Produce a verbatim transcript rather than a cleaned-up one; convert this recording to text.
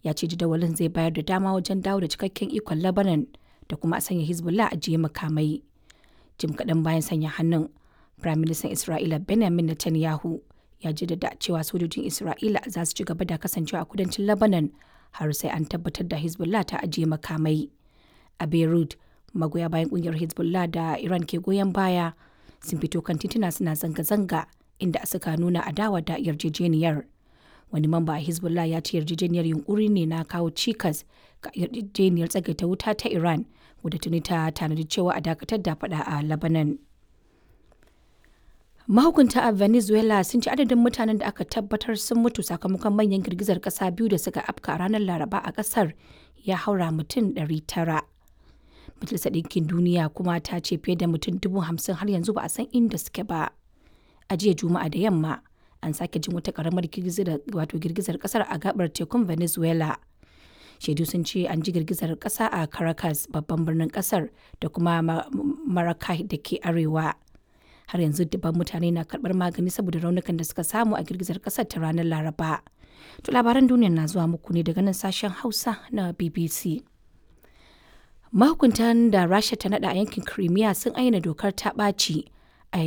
Ya ce jadawalin zai bayar da dama wajen dawo da cikakken ikon Lebanon da kuma a sanya Hezbollah ajiye makamai. Jim kaɗan bayan sanya hannun, Firaministan Isra'ila Benjamin Netanyahu ya jaddada cewa sojojin Isra'ila za su ci gaba da kasancewa a kudancin Lebanon har sai an tabbatar da Hezbollah ta ajiye makamai. A Beirut, magoya bayan kungiyar Hezbollah da Iran ke goyon baya sun fito kan tituna suna zanga-zanga inda suka nuna adawa da yarjejeniyar. Wani mamba a Hezbollah ya ce yarjejeniyar yunkuri ne na kawo cikas ga yarjejeniyar tsagaita wuta ta Iran wadda tuni ta tanadi cewa a dakatar da fada a Lebanon. Mahukunta a Venezuela sun ci adadin mutanen da aka tabbatar sun mutu sakamakon manyan girgizar kasa biyu da suka afka ranar Laraba a kasar ya haura mutum ɗari tara. Majalisar Ɗinkin Duniya kuma ta ce fiye da mutum dubu hamsin har yanzu ba a san inda suke ba. A jiya Juma'a da yamma, an sake jin wata karamar girgizar wato girgizar kasar a gabar tekun Venezuela. Shaidu sun ce an ji girgizar kasa a Caracas, babban birnin kasar, da kuma Maracay da ke arewa. Har yanzu dubban mutane na karbar magani saboda raunukan da suka samu a girgizar kasar ta ranar Laraba. To labaran duniya na zuwa muku ne daga nan sashen Hausa na B B C. Mahukuntan da Rasha ta nada a yankin Crimea sun ayyana dokar ta ɓaci.